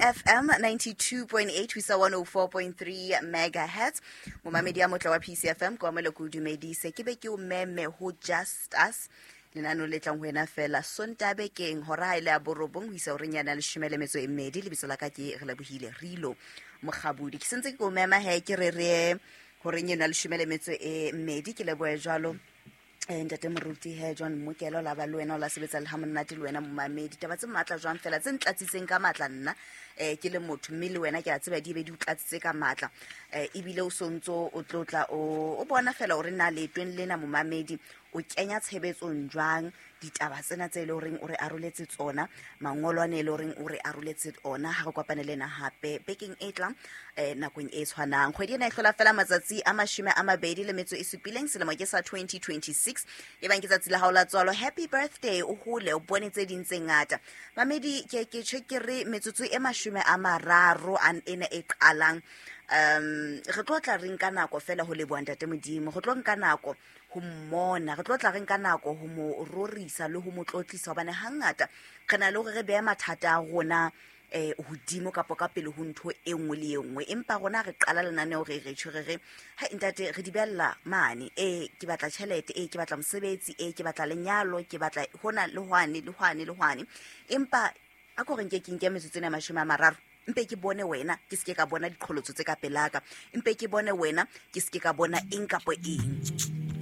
PCFM 92.8 ho isa 104.3 megahertz. Momamedi ya motle wa PCFM, ke wa moleko o dumedise, ke be ke o meme ho Just Us, lenaneo le tlang ho wena fela Sontaha bekeng hora ha e le ya 9 ho isa horeng yana 12. Lebitso la ka ke Re Lebohile Rilo Mokgabudi. Ke sentse ke o mema he, ke re re horeng eno ya 12, ke lebohe jwalo ntate moruti he John Mokelo la ba le wena o la sebetsa le ha monate le wena momamedi. Taba tse matla jwang fela tse ntlatsitseng ka matla nna ke le motho, mme le wena ke a tseba di be di o tlatsitse ka matla, ebile o sontso o tlotla o bona fela hore na leetong lena momamedi o kenya tshebetsong jwang ditaba tsena tse e le horeng o re aroletse tsona, mangolo ane e le horeng o re aroletse ona. Ha re kopane le ena hape bekeng e tlang nakong e tshwanang. Kgwedi ena e hlola fela matsatsi a 27, selemo ke sa 2026. E bang ke tsatsi la hao la tswalo, happy birthday, o hole o bone tse ding tse ngata. Mamedi, ke tjho ke re metsotso e 30 an ena e qalang, re tlo tla re nka nako fela ho leboha ntate Modimo, re tlo nka nako ho mmona, re tlo tla re nka nako ho mo rorisa le ho mo tlotlisa, hobane hangata re na le hore re behe mathata a rona hodimo kapo ka pele ho ntho e nngwe le e nngwe. Empa rona re qala lenaneo re re tjho re re hai ntate, re di behella mane, ke batla tjhelete, ke batla mosebetsi, ke batla lenyalo, ke batla hona le hwane le hwane le hwane. Empa a ko re nke ke nke metsotso ena 30, mpe ke bone wena, ke seke ka bona diqholotso tse ka pelaka, mpe ke bone wena, ke seke ka bona eng kapo eng.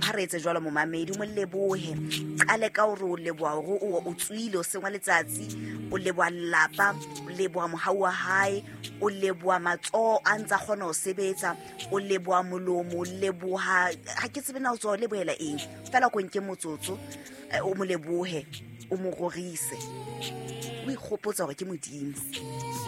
Ha re etse jwalo momamedi, o mo lebohe, qale ka hore o leboha hore o tswile o sengwa letsatsi, o leboha lelapa, o leboha mohau wa hae, o leboha matsoho a ntsa kgona ho sebetsa, o leboha molomo, o leboha ha ke tsebe na o tswa o lebohela eng fela. Ko nke motsotso, o mo lebohe, o mo rorise, o ikgopotsa hore ke Modimo.